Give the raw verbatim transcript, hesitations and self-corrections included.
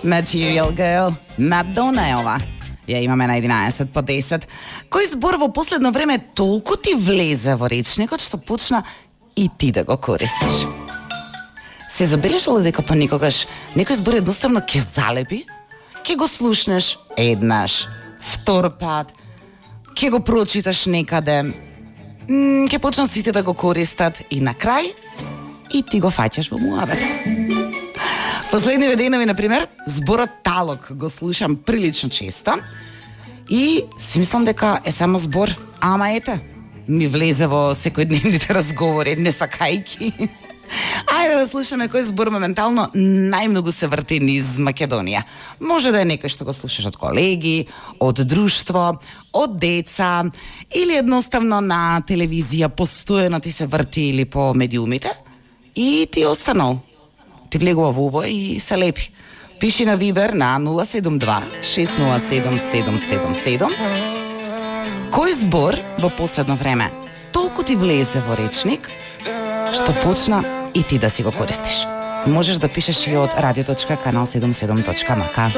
Material Girl, Madonna е ова. Ја имаме на единаесет по десет. Кој збор во последно време толку ти влезе во речникот што почна и ти да го користиш? Се забележала дека понекогаш некој збор едноставно ќе залепи, ќе го слушнеш еднаш, втор пат, ќе го прочиташ некаде, ќе почнат сите да го користат и на крај и ти го фаќаш во муабет. Последниве денови, например, зборот талог го слушам прилично често и си мислам дека е само збор, ама ете, ми влезе во секојдневните разговори, не сакајки. Ајде да слушаме кој збор моментално најмногу се врти низ Македонија. Може да е некој што го слушаш од колеги, од друштво, од деца или едноставно на телевизија постојано ти се врти или по медиумите и ти останал. Ти влегува во ово и се лепи. Пиши на Вибер на нула седум два шест нула седум седум седум седум. Кој збор во последно време толку ти влезе во речник што почна и ти да си го користиш? Можеш да пишеш и од радио точка канал седумдесет и седум точка ем ка.